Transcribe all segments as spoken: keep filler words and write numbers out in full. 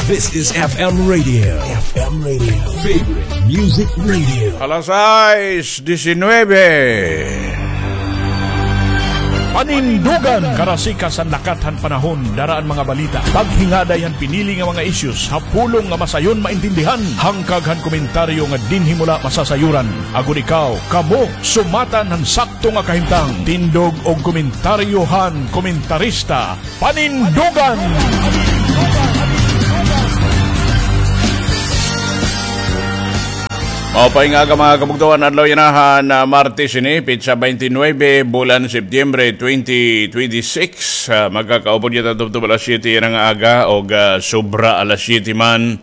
This is F M Radio. F M Radio. Favorite Music Radio. Alas sais disinuybe. Panindugan, karasika san lakat han panahon, dara an mga balita, paghingaday han pinili nga mga issues ha pulong nga masayon maintindihan, hangkag han komentaryo nga dinhi mo la masasayuran. Agod ikaw, kamo, sumatan han sakto nga kahimtang. Tindog og komentaryo han komentarista, Panindugan! Maupay nga aga, mga kabugtoan. Adlaw yana han, ah, Martes ini, petsa twenty-nine, bulan Setyembre twenty twenty-six. Ah, magkakaupod kita tubtob alas siyete yana nga aga, og, ah, sobra alas siyete man.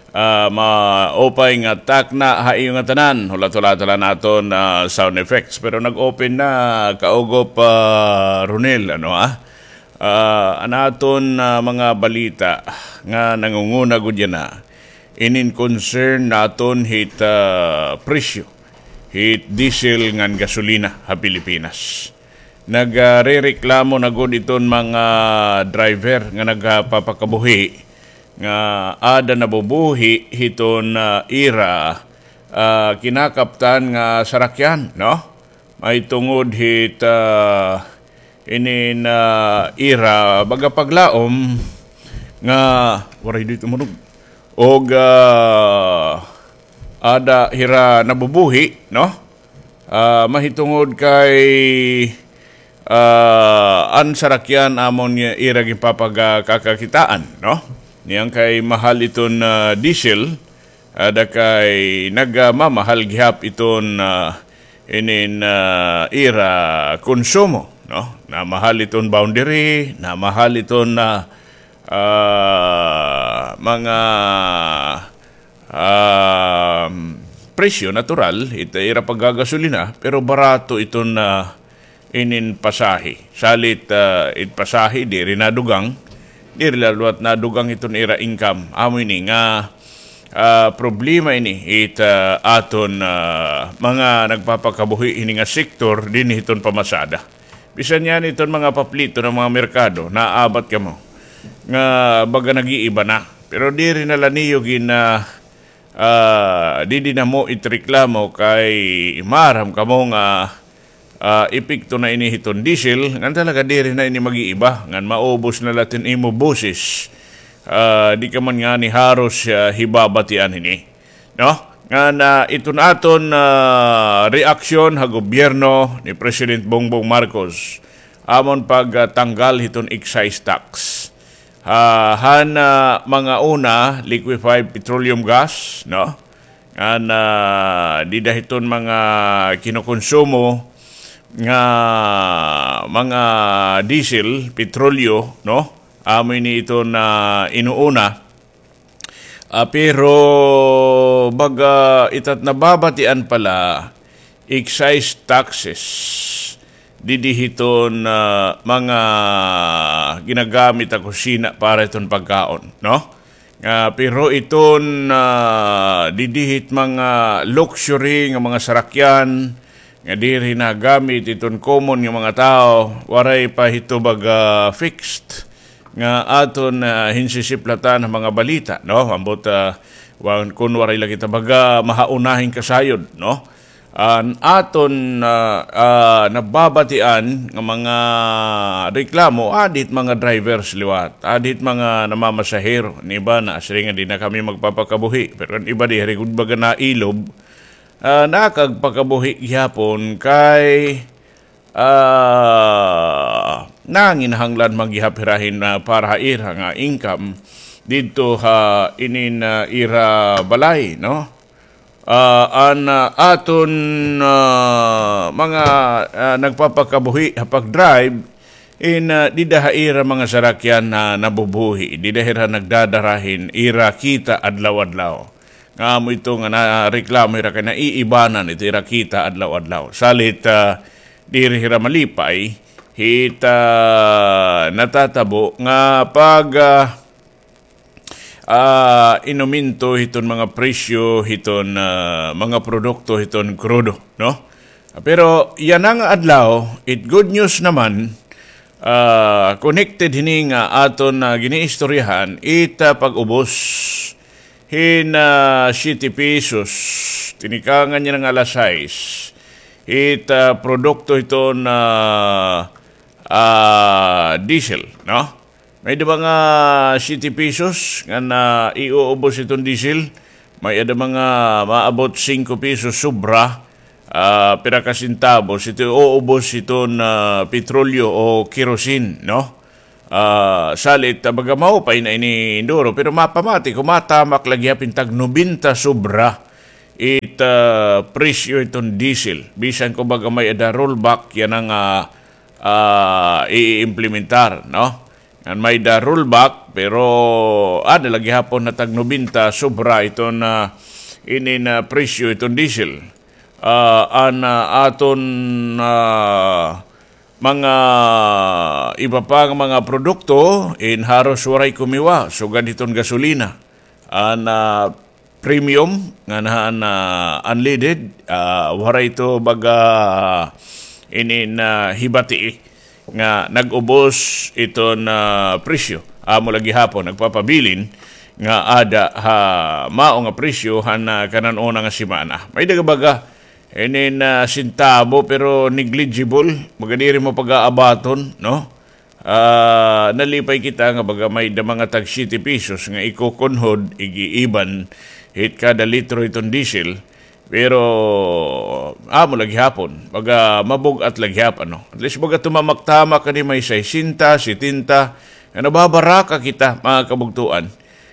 Ah, maupay nga takna ha iyo nga tanan. Hulat-hulata la an aton, ah, sound effects. Pero nag-open na, kaugop, ah, Ronel, ano, ah? Ah, an aton, ah, mga balita nga nangunguna gud yana, inin concern naton hit, ah, presyo hit diesel ngan gasolina ha Pilipinas. Nagrereklamo na gud iton mga driver nga nagpapakabuhi nga ada nabubuhi hiton, ah, ira, ah, kinakaptan nga sarakyan, no? Mahitungod hit, ah, inin, ah, ira baga paglaom nga waray di tumunog. Og, ah, ada hira nabubuhi, no? Ah, mahitungod kay, ah, an sarakyan amon nga ira ginpapagkakakitaan, no? Niyan kay mahal iton, ah, diesel, ada kay nagmamahal gihap iton, ah, inin, ah, ira konsumo, no? Namahal iton boundary, namahal iton, ah, ah, mga, ah, presyo natural, it ira paggagasolina, pero barato iton, ah, inin pasahe. Salit, ah, it pasahe, diri nadugang, diri la liwat nadugang iton ira income. Amo ini nga, ah, problema ini it, ah, aton, ah, mga nagpapakabuhi hini nga sektor dinhi hiton pamasada. Bisan yana iton mga paplito nga mga merkado, naabat kamo nga baga nag-iiba na. Pero diri na la niyo gin, ah, ah, didi na mo it reklamo kay maaram kamo nga, ah, epekto na ini hiton diesel, ngan talaga diri na ini mag-iiba, ngan maubos na la it imo boses. Ah, di ka man ngani haros, ah, hibabatian hini. No? Ngan, ah, iton aton, ah, reaksyon ha gobyerno ni President Bongbong Marcos, amon pagtanggal hiton excise tax. Ah, han, ah, mga una, liquefied petroleum gas, no? Ngan, ah, dida hiton mga kinukonsumo nga mga diesel, petrolyo, no? Amo ini iton inuuna. Ah, pero baga ita't nababatian pa la, excise taxes didi hiton, ah, mga ginagamit ha kusina para hiton pagkaon, no? Ah, pero iton, ah, didi hit mga luxury nga mga sarakyan nga diri nagamit hiton common nga mga tawo, waray pa hito baga fixed nga aton, ah, hinsisiplatan ha mga balita, no? Ambot, ah, wan-, kun waray la kita baga mahauna hin kasayod, no? An aton, ah, ah, nababatian nga mga reklamo, adi hit mga drivers liwat, adi hit mga namamasahero, an iba nasiring nga di na kami magpapakabuhi, pero an iba diri gud baga nailob, ah, nakagpakabuhi gihapon kay ah, nanginahanglan man gihap hira hin, ah, para ha ira nga income didto ha inin, ah, ira balay, no? Ah, an, ah, aton, ah, mga, ah, nagpapakabuhi ha pag-drive, in, ah, dida ha ira mga sarakyan na nabubuhi, dida hira nagdadara hin ira kita adlaw-adlaw. Nga amo ito nga nareklamo hira kay naiibanan ito ira kita adlaw-adlaw. Salit, ah, diri hira malipay hit, ah, natatabo nga pag, ah, ah, inumento hiton mga presyo hiton, ah, mga produkto hiton krudo, no? Pero yana nga adlaw, it good news naman, Ah, connected hini nga aton, ah, giniistoryahan, it, ah, pag-ubos hin, ah, siyete pesos, tinikangan niya nga alas sais, it, ah, produkto hiton, ah, ah, diesel, no? May-ada mga siyete pesos nga naiuubos iton diesel, may-ada mga maabot singko pesos sobra, ah, pira ka sentabos, ito uubos iton, ah, petrolyo o kerosene, no? Ah, salit, ah, baga maupay na ini, Indoro, pero mapamati ko, matamak la gihap hin tag nobenta sobra it, ah, presyo iton diesel. Bisan ko baga may-ada rollback, yana nga, ah, i-implementar, no? Ngan may-ada rollback, pero, ah, ada la gihapon nga tag nobenta sobra iton, ah, inin, ah, presyo iton diesel. Ah, an, ah, aton, ah, mga iba pa nga mga produkto, in haros waray kumiwa, sugad hiton gasolina. An, ah, premium, ngan han, ah, unleaded, ah, waray ito baga inin, ah, hibati nga nag-ubos iton, ah, presyo. Amo la gihapon, nagpapabilin nga ada ha mao nga presyo han, ah, kanan-una nga semana. May-ada baga inin, ah, sentabo, pero negligible. Baga diri mo pag-aabaton, no? Ah, nalipay kita nga baga may-ada mga tag siyete pesos nga ikukunhod, igiiban, hit kada litro iton diesel. Pero, amo la gihapon, baga mabug-at la gihapon, no? At least, baga tumamak-tamak kani may sesenta, setenta, nga nababaraka kita, mga kabugtuan,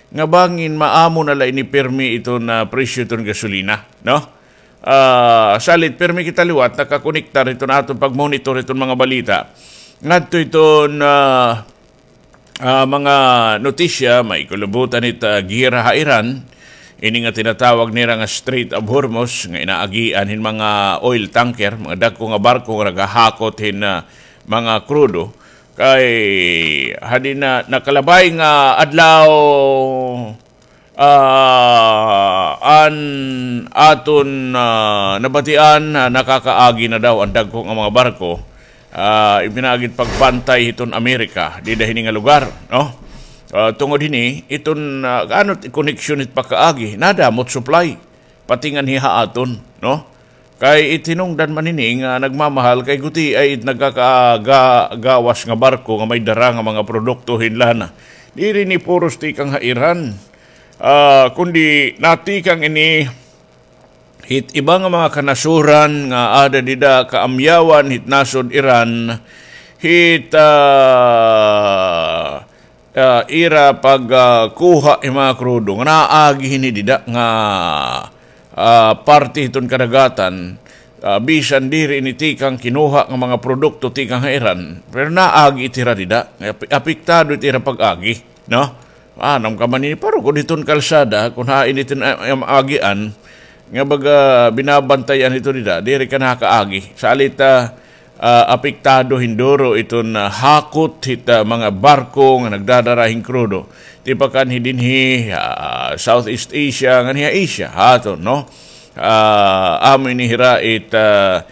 nga bangin maamo na la ini pirmi iton, ah, presyo iton gasolina, no? Ah, salit, pirmi kita liwat nakakonektar hiton aton pagmonitor hiton mga balita. Ngadto hiton, ah, ah, mga notisya, may kulubutan hit, ah, giyera ha Iran, ini nga tinatawag nira nga Strait of Hormuz, nga inaagian hin mga oil tanker, mga dagko nga barko nga naghahakot hin, ah, mga krudo. Kay, hadi na nakalabay nga adlaw, ah, an aton, ah, nabatian, ah, nakakaagi na daw an dagko nga mga barko. Ah, ipinaagi it pagbantay hiton Amerika, dida hini nga lugar, no? Ah, tungod hini, iton, ah, ano it koneksyon hit pagkaagi, nadamo it supply, pati nganhi ha aton, no? Kay it hinungdan man hini nga nagmamahal kay gutiay it nagkakagawas nga barko nga may dara nga mga produkto hin lana. Diri ini puros tikang ha Iran. Ah, kundi natikang ini hit iba nga mga kanasuran nga ada dida kaamyawan hit nasod Iran hit, ah, ah, ira pag, ah, kuha hin mga krudo nga naagi hini dida nga, ah, parte hiton kadagatan, ah, bisan diri ini tikang kinuha nga mga produkto tikang ha Iran, pero naagi it ira dida, nga api-, apektado it ira pag-agi, no? Anam ka man ini, parukod hiton kalsada, kon hain iton, ah, am-, agian, nga baga binabantayan hito dida, diri ka nakakaagi. Salit, ah, ah, apektado hin duro iton, ah, hakot hit, ah, mga barko nga nagdadara hin krudo. Tipakan hi dinhi, ah, Southeast Asia, nganhi ha Asia, ha aton, no? Ah, amo ini hira it, ah,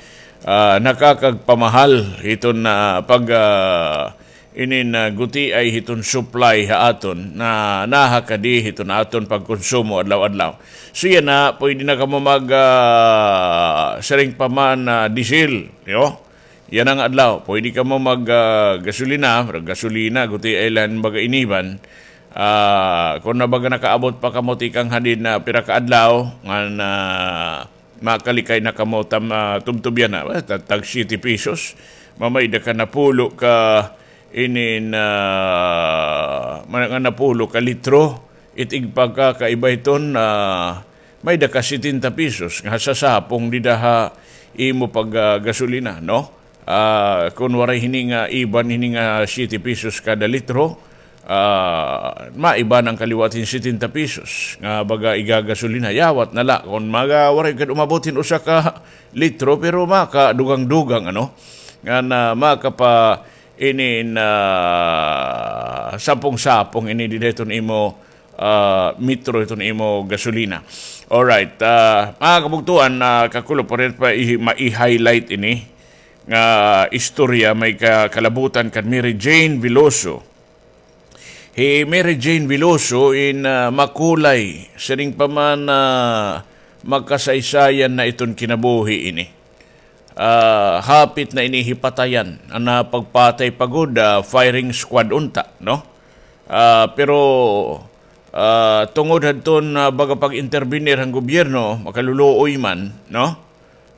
ah, nakakagpamahal hiton, ah, pag, ah, inin, ah, gutiay hiton supply ha aton, na naha kadi hiton aton pagkonsumo adlaw-adlaw. So yana, pwede na kamo mag, ah, siring pa man, ah, diesel, yo? Yana nga adlaw, pwede kamo mag, ah, gasolina, gasolina, gutiay la hin baga iniban. Ah, kon na baga nakaabot pa kamo tikang hadin na pira ka adlaw, ngan, ah, makalikay na kamo tam-, ah, tubtob yana, ah, ta-, tag siyete pesos. Mamayda ka napulo ka inin, ah, mga napulo ka litro. It igpagkakaiba hiton, ah, mayda ka setenta pesos nga sasapong dida ha imo pag, ah, gasolina, no? Ah, kon waray hini nga iban hini nga siyete pesos kada litro, ah, maiba na an kaliwat hin setenta pesos nga baga igagasolina. Yawat na la kon maga waray gad umabot hin usa ka litro, pero makadugang-dugang, ano, ngan makapa-, inin, ah, sapong-sapong ini dida hiton imo, ah, metro hiton imo gasolina. Alright, ah, mga kabugtuan, ah, kakulop, pa rin pa i-, ma-, i-highlight ini. nga istorya may ka-, kalabutan kan Mary Jane Veloso. Hi Mary Jane Veloso in, ah, makulay, siring pa man, ah, makasaysayan na iton kinabuhi ini. Ah, hapit na ini hipatayan, an, ah, pagpatay pa gud, ah, firing squad unta, no? Ah, pero, ah, tungod hadton, ah, baga pag-intervenir han gobyerno, makaluluoy man, no?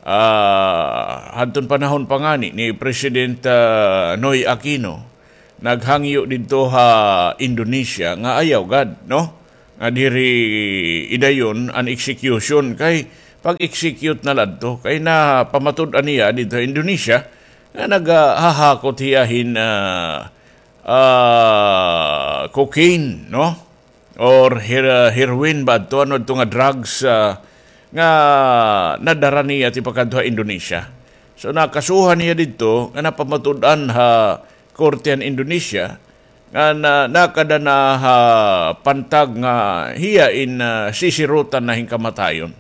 Ah, hadton panahon pa ngani ni President, ah, Noy Aquino, naghangyo didto ha Indonesia nga ayaw gad, no? Nga diri idayon an execution kay pag-execute na la adto kay napamatud-an niya didto ha Indonesia nga naghahakot hiya hin, ah, ah, cocaine, no? Or her-, heroin ba adto, ano adto nga drugs, ah, nga nadara niya tipakadto ha Indonesia. So, nakasuhan hiya didto nga napamatud-an ha korte han Indonesia nga na-, nakada na ha pantag nga hiya in, ah, sisirutan na hin kamatayon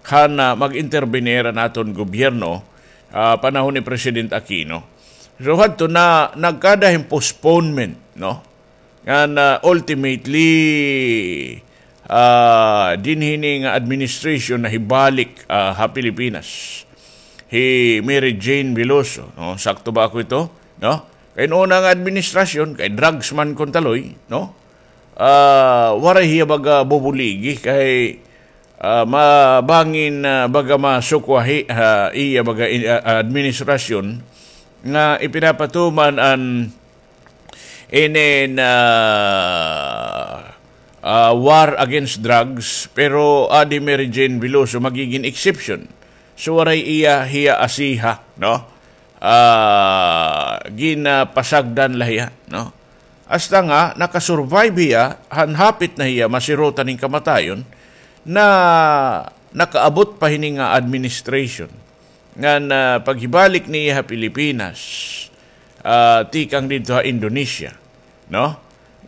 han, ah, mag-intervenir an aton gobyerno, ah, panahon ni President Aquino. So, hadto na nagkada hin postponement, no? Ngan, ah, ultimately, ah, dinhi ini nga administration nahibalik, ah, ha Pilipinas. Hi Mary Jane Veloso, no? Sakto ba ako ito? No? Kay una nga administrasyon, kay drugs man kon taloy, no? Ah, waray hiya baga bubuligi, kay, ah, mabangin, ah, baga masukwahi ha iya baga in-, ah, administrasyon nga ipinapatuman an inin, ah, ah, war against drugs, pero adi Mary Jane Veloso magigin exception. So, waray iya, hiya asiha, no? Ah, ginapasagdan la hiya, no? Hasta nga nakasurvive hiya, han hapit na hiya masirutan hin kamatayon, na nakaabot pa hini nga administration. Ngan, ah, paghibalik niya ha Pilipinas, ah, tikang didto ha Indonesia, no?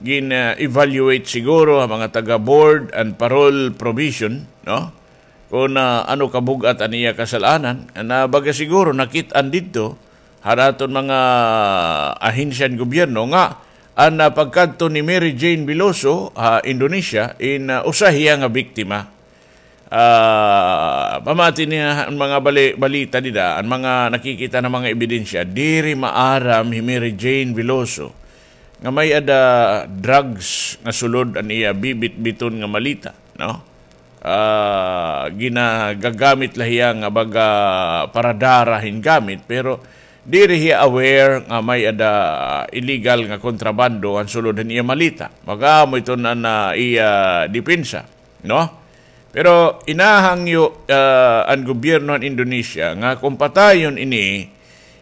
Gin, ah, evaluate siguro ha mga taga board and parole provision, no? Kon, ah, ano kabug-at an iya kasal-anan, na baga siguro nakit-an didto han aton mga ahensya han gobyerno nga an, ah, pagkadto ni Mary Jane Veloso ha Indonesia in, ah, usa hiya nga biktima. Ah, pamati niya an mga bali-, balita dida, an mga nakikita na mga ebidensya, diri maaram hi Mary Jane Veloso nga may-ada drugs nga sulod an iya bibitbiton nga maleta, no? Ah, ginagagamit la hiya nga baga para dara hin gamit, pero diri hiya aware nga may-ada illegal nga kontrabando an sulod han iya maleta. Mag-amo iton an, ah, iya depensa, no? Pero inahangyo, ah, an gobyerno han Indonesia nga kon patayon ini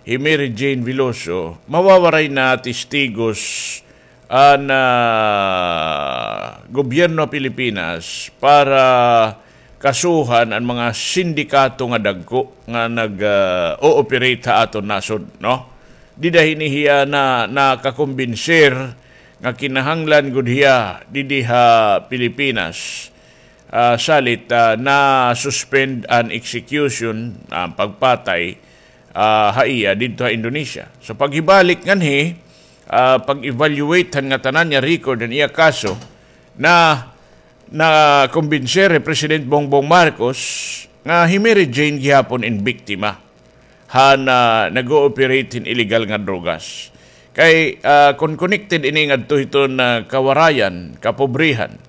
hi Mary Jane Veloso, mawawaray na testigos an, ah, gobyerno Pilipinas para kasuhan an mga sindikato nga dagko nga nag, ah, o-operate ha aton nasod, no? Dida hini hiya na nakakumbinser nga kinahanglan gud hiya didi ha Pilipinas, ah, salit, ah, na-suspend an execution, an pagpatay, ah, ha iya didto ha Indonesia. So, paghibalik nganhi, ah, pag-evaluate han ngatanan niya record han iya kaso, na, nakumbinser hi President Bongbong Marcos nga hi Mary Jane gihapon in biktima han, ah, nag-o-operate hin illegal nga drogas. Kay, ah, kon connected ini ngadto hiton, ah, kawarayan, kapobrehan,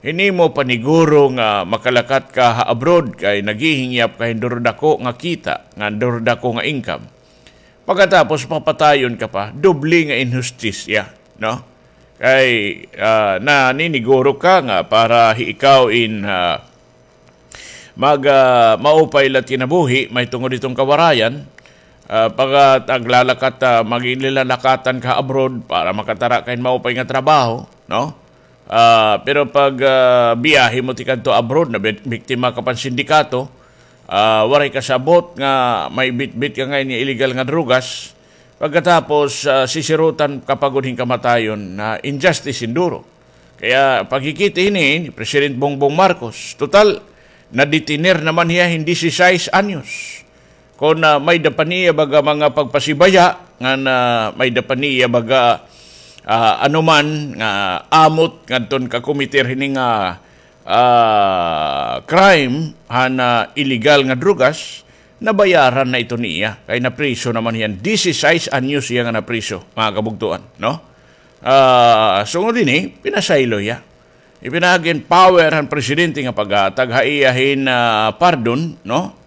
hin imo paniguro nga makalakat ka ha abroad kay naghihingyap ka hin durodako nga kita, nga durodako nga income. Pagkatapos, papatayon ka pa, doble nga inhustisya, no? Kay, ah, naniniguro ka nga para hi ikaw in, ah, mag, ah, maupay la it kinabuhi, mahitungod hiton kawarayan, ah, pagka taglalakat, ah, magin lilalakatan ka abroad para makatara ka hin maupay nga trabaho, no? Ah, pero pag, ah, biyahe mo tikadto abroad, na bik-, biktima ka pa hin sindikato, ah, waray kasabot nga may bitbit ka ngay-an nga illegal nga drogas, pagkatapos, ah, sisirutan ka pa gud hin kamatayon, na injustice hin duro. Kaya pagkikita hini ni President Bongbong Marcos, total, nadetener naman hiya hin disisais anyos. Kon, ah, may-ada pa niya baga mga pagpasibaya, ngan, ah, may-ada pa niya baga, ah, anuman nga amot ngadton kakometer hini nga, ah, crime, han, ah, illegal nga drugas, nabayaran na ito niya. Kay napriso naman hiya. Disisais anyos hiya nga napriso, mga kabugtoan, no? Ah, sungod hini, pinasaylo hiya. Ipinaagi hin power han presidente nga paghatag ha iya hin, ah, pardon, no?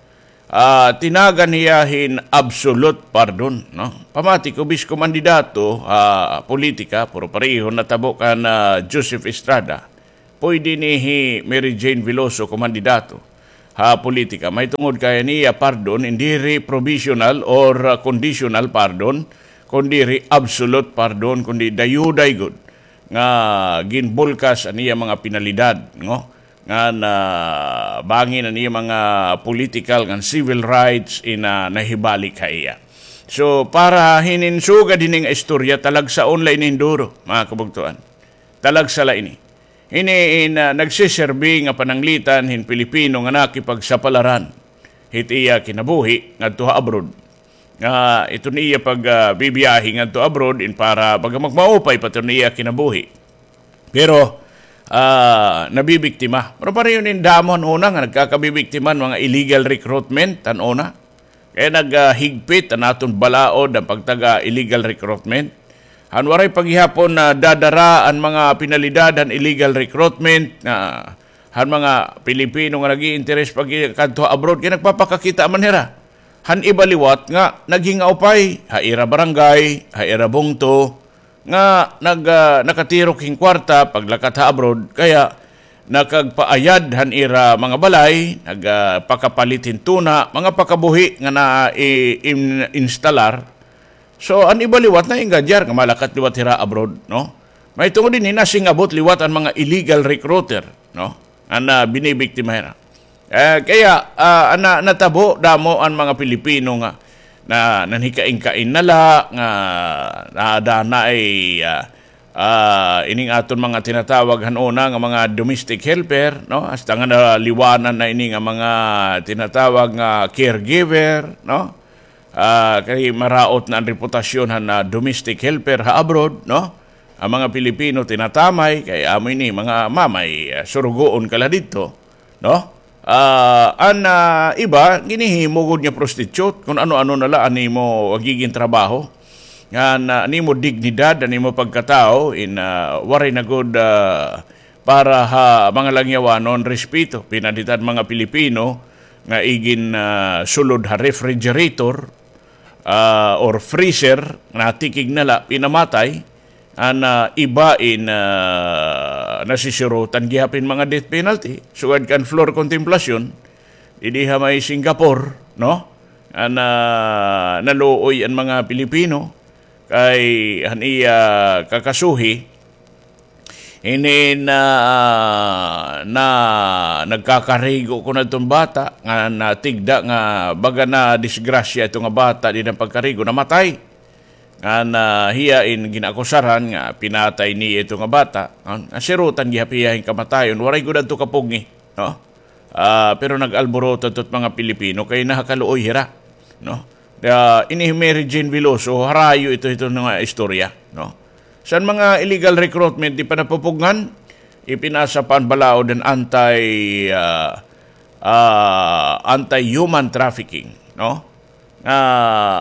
Ah, tinagan hiya hin absolute pardon, no? Pamati ko, bis kumandidato ha politika, pero pareho natabo kan, ah, Joseph Estrada, pwede ni hi Mary Jane Veloso kumandidato ha politika. Mahitungod kay an iya pardon, hindi diri provisional or, ah, conditional pardon, kundi diri absolute pardon, kundi dayuday gud nga ginbulkas an iya mga penalidad, no? Ngan, ah, bangin an iya mga political ngan civil rights in, ah, nahibalik ha iya. So, para hinin sugad hini nga istorya, talagsaon la ini hin duro, mga kabugtoan. Talagsa la ini. Hini in, ah, nagsiserbi nga pananglitan hin Pilipino nga nakipagsapalaran hit iya kinabuhi ngadto ha abroad. Nga iton iya pag, ah, bibiyahe ngadto abroad in para baga magmaupay pa iton iya kinabuhi. Pero, ah, nabibiktima. Pero pareho ini hin damo han una nga nagkakabibiktima han mga illegal recruitment han una. Kay nag, ah, higpit an aton balaod han pagtaga illegal recruitment. Han waray pa gihapon nadadara an mga penalidad han illegal recruitment, ah, han mga Pilipino nga nag-iinteres pagkadto ha abroad, kay nagpapakakita man hira han iba liwat nga naghingaupay ha ira barangay, ha ira bungto, nga nag, ah, nakatirok hin kwarta paglakat ha abroad, kaya nakagpaayad han ira mga balay, nag, ah, pakapalit hin tuna, mga pakabuhi nga na-, i-, in-, instalar. So, an iba liwat naengadyar nga malakat liwat hira abroad, no? Mahitungod hini nasingabot liwat an mga illegal recruiter, no? An, ah, binibiktima hira. Eh, kaya, ah, ana, natabo damo an mga Pilipino nga na, nanhikain-kain na la, nga naada na ay, ah, ah, ining aton mga tinatawag han una nga mga domestic helper, no? Hasta nga naliwanan na ini nga mga tinatawag nga caregiver, no? Ah, kay maraot na an reputasyon han, ah, domestic helper ha abroad, no? An mga Pilipino tinatamay, kay amo ini, mga mamay, ah, surugoon ka la didto, no? Ah, an, ah, iba, ginhihimo gud nga prostitute, kun ano-ano na la an imo magigin trabaho. Ngan, ah, an imo dignidad, an imo pagkatawo, in, ah, waray na gud, ah, para ha mga langyawanon, respeto. Pinalit an mga Pilipino nga igin, ah, sulod ha refrigerator, ah, or freezer, natikig na la, pinamatay. An, ah, iba in, ah, nasisirutan gihap hin mga death penalty. Sugad kan Flor Contemplacion, didi ha may Singapore, no? An, ah, naluoy an mga Pilipino kay han iya kakasuhi, hini na, na nagkakarigo kuno adton bata nga natigda nga baga nadisgrasya ito nga bata dida ha pagkarigo, namatay. Ngan hiya in gin-akusaran nga pinatay niya ito nga bata. Ngan sirutan gihap hiya hin kamatayon. Waray gud adto kapugngi, no? Ah, pero nag-alboroto adto it mga Pilipino kay nahakaluoy hira, no? Ah, ini hi Mary Jane Veloso, harayo ito, ito nga istorya, no? San mga illegal recruitment di pa napupugngan, ipinasa pa an balaod an anti, ah, ah, anti-human trafficking, no? Nga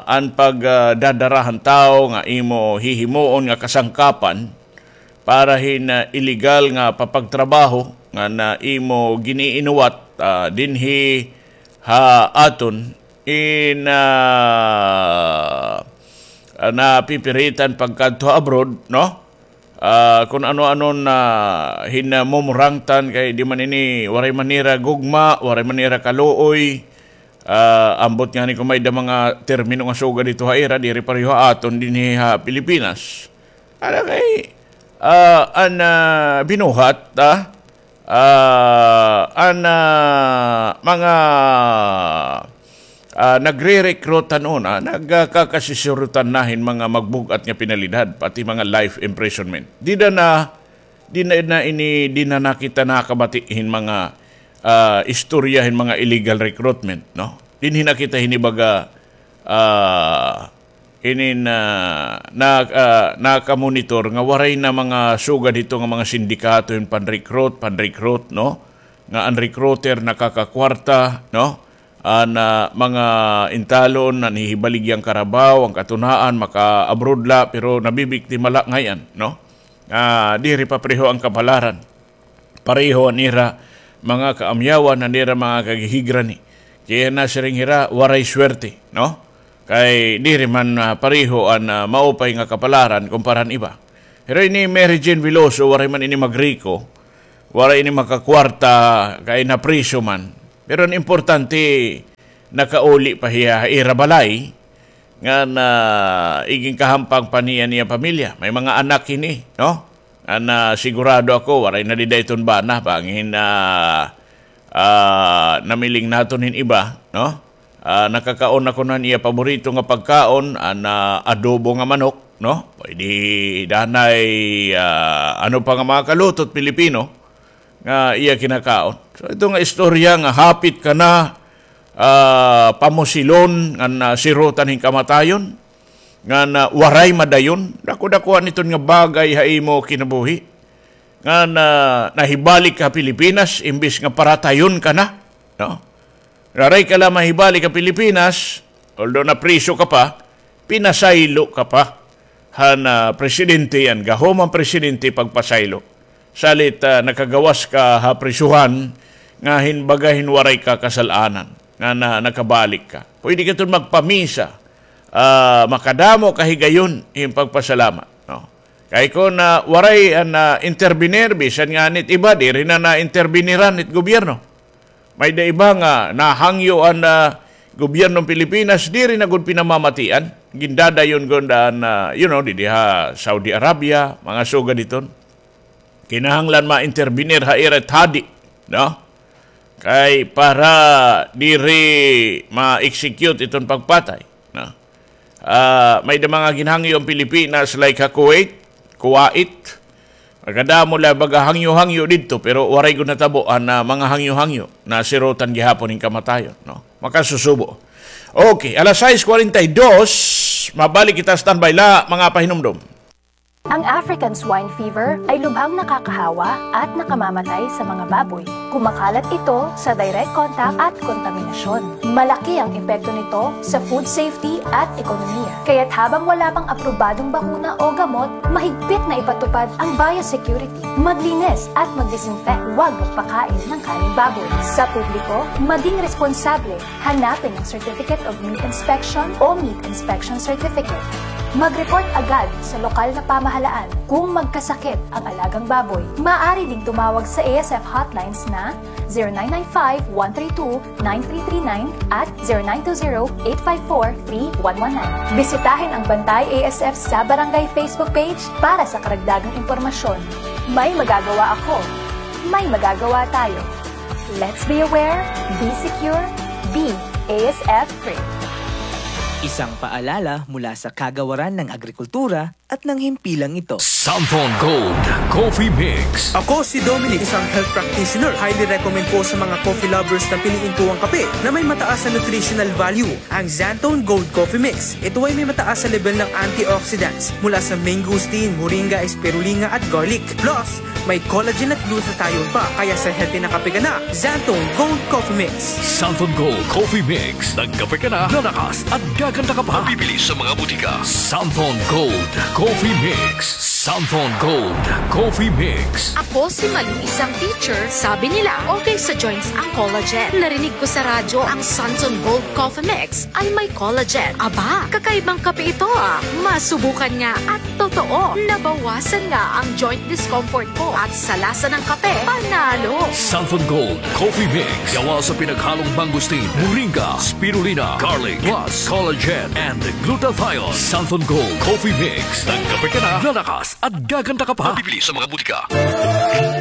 an pag, ah, dadara han tawo nga imo hihimuon nga kasangkapan para hin, ah, illegal nga papagtrabaho nga na imo giniinuwat, ah, dinhi ha aton in, ah, napipiritan pagkadto abroad, no? Ah, kun ano-ano na hin, ah, mumurangtan kay di man ini, waray man nira gugma, waray man nira kaluoy. Ah, ambot ngani kun may-ada mga termino nga sugad didto ha ira, diri pareho ha aton dinhi ha Pilipinas. Ano kay, ah, an, ah, binuhat, ah, ah, an, ah, mga, ah, nagre-recruit han una, nagkakasisirutan na hin mga magbug-at nga penalidad, pati mga life imprisonment. Dida na, di na, na ini, di na nakita nakabati hin mga, ah, istorya hin mga illegal recruitment, no? dinhi na kita hinibaga, ah, inin, ah, na, ah, nakamonitor nga waray na mga sugad hito nga mga sindikato hin pan-recruit, pan-recruit, no? Nga an recruiter nakakakwarta, no? An, ah, mga intalon, nanhihibaligya hin karabaw, an katunaan, maka-abroad la, pero nabibiktima la ngay-an, no? Ah, diri papareho an kapalaran. Pareho an ira mga kaamyawan, an ira mga kagihigrani. Kay nasiring hira, waray swerte, no? Kay diri man, ah, pareho an, ah, maupay nga kapalaran kumpara han iba. Pero ini Mary Jane Veloso, waray man ini magriko, waray ini makakwarta, kay napriso man. Pero an importante, nakauli pa hiya ha ira balay, ngan, ah, iginkahampang pa niya an iya pamilya. May mga anak hini, no? Ngan, ah, sigurado ako, waray na dida iton bana, bangin, ah, ah, namiling naton hin iba, no? Ah, nakakaon ako han iya paborito nga pagkaon, an, ah, adobo nga manok, no? Pwede danay, ah, ano pa nga mga kaluto hit Pilipino nga iya kinakaon. So, ito nga istorya nga hapit ka na, ah, pamusilon, ngan, ah, sirotan hin kamatayon, ngan, ah, waray madayon, dako-dakoan iton nga bagay ha imo kinabuhi. Ngan, ah, nahibalik ka ha Pilipinas, imbis nga paratayon ka na, no? Waray ka la mahibalik ha Pilipinas, although napriso ka pa, pinasaylo ka pa han, ah, presidente, an gahom han presidente pagpasaylo. Salit, ah, nakagawas ka ha prisuhan nga hin baga hin waray ka kasal-anan, nga na, nakabalik ka. Pwede ka iton magpamisa, ah, makadamo ka higayon hin pagpasalamat, no? Kay kon, ah, waray an, ah, intervenir, bisan ngani it iba, diri na nainterbiniran it gobyerno. May-ada iba nga nahangyo an, ah, gobyerno hin Pilipinas, diri na gud pinamamatian. Gindadayon gud an, ah, you know, didi ha Saudi Arabia, mga sugad hiton. Kinahanglan ma-intervenir ha ira it hadi, no? Kay para diri ma-execute iton pagpatay, no? Ah, may-ada mga ginhangyo an Pilipinas, like ha Kuwait, Kuwait. Makadamo la baga hangyo-hangyo didto, pero waray gud natabo an, ah, mga hangyo-hangyo, nasirotan gihapon hin kamatayon, no? Makasusubo. Okay, alas sais kwarenta y dos, mabalik kita, standby la, mga pahinumdom. Ang African swine fever ay lubhang nakakahawa at nakamamatay sa mga baboy. Kumakalat ito sa direct contact at kontaminasyon. Malaki ang epekto nito sa food safety at ekonomiya. Kaya't habang wala pang aprobadong bakuna o gamot, mahigpit na ipatupad ang biosecurity. Maglinis at mag-disinfect. Huwag magpakain ng karneng baboy. Sa publiko, maging responsable. Hanapin ang Certificate of Meat Inspection o Meat Inspection Certificate. Mag-report agad sa lokal na pamahalaan kung magkasakit ang alagang baboy. Maaari ding tumawag sa A S F hotlines na zero nine nine five, one three two, nine three three nine at zero nine two zero, eight five four, three one one nine. Bisitahin ang Bantay A S F sa Barangay Facebook page para sa karagdagang impormasyon. May magagawa ako. May magagawa tayo. Let's be aware, be secure, be A S F free. Isang paalala mula sa Kagawaran ng Agrikultura at ng himpilang ito. Santhon Gold Coffee Mix. Ako si Dominic, isang health practitioner. Highly recommend po sa mga coffee lovers na piliin po ang kape na may mataas na nutritional value, ang Xanthone Gold Coffee Mix. Ito ay may mataas na level ng antioxidants mula sa mangosteen, moringa, spirulina at garlic. Plus, may collagen at glutathione pa, kaya sa healthy na kape ka na, Xanthone Gold Coffee Mix. Santhon Gold Coffee Mix. Nagkape ka na, lalakas at gaganda ka pa. Mabibili sa mga butika. Santhon Gold Coffee Mix. Santhon Gold Coffee Mix. Ako si Malu, isang teacher. Sabi nila, okay sa joints ang collagen. Narinig ko sa radyo ang Santhon Gold Coffee Mix ay may collagen. Aba, kakaibang kape ito, ah. Masubukan nga at totoo, nabawasan nga ang joint discomfort ko at sa lasa ng kape, panalo. Santhon Gold Coffee Mix. Gawa sa pinaghalong mangosteen, moringa, spirulina, garlic, plus collagen and glutathione. Santhon Gold Coffee Mix. Nagkape ka na, lalakas at gaganda ka pa. Mabibili sa mga butika.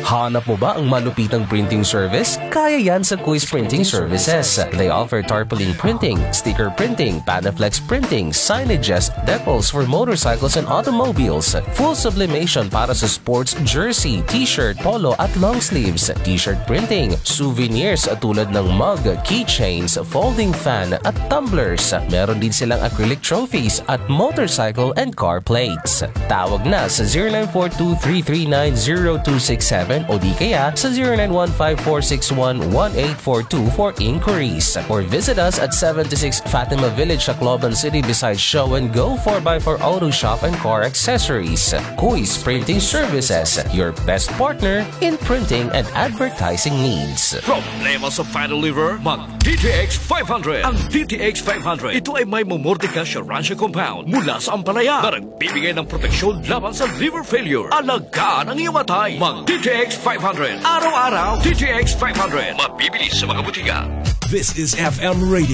Hanap mo ba ang malupitang printing service? Kaya yan sa Kuis Printing Services. They offer tarpaulin printing, sticker printing, Panaflex printing, signages, decals for motorcycles and automobiles, full sublimation para sa sports jersey, t-shirt, polo at long sleeves, t-shirt printing, souvenirs tulad ng mug, keychains, folding fan at tumblers. Meron din silang acrylic trophies at motorcycle and car plates. Tawag na sa zero nine four two three three nine zero two six seven o di kaya sa zero nine one five four six one one eight four two for inquiries. Or visit us at seventy-six Fatima Village, Tacloban City, beside Show and Go four by four Auto Shop and Car Accessories. Kuis Printing Services, your best partner in printing and advertising needs. Problema sa fan o lever? Mag D T X five hundred. Ang D T X five hundred, ito ay may mumurti ka siya Rancia compound mula sa ampalaya na nagbibigay ng proteksyon laban sa lever failure. Alagaan ang iyong atay. Mag D T X five hundred. Araw-araw, D T X five hundred. Mabibili sa mga butika. This is F M Radio.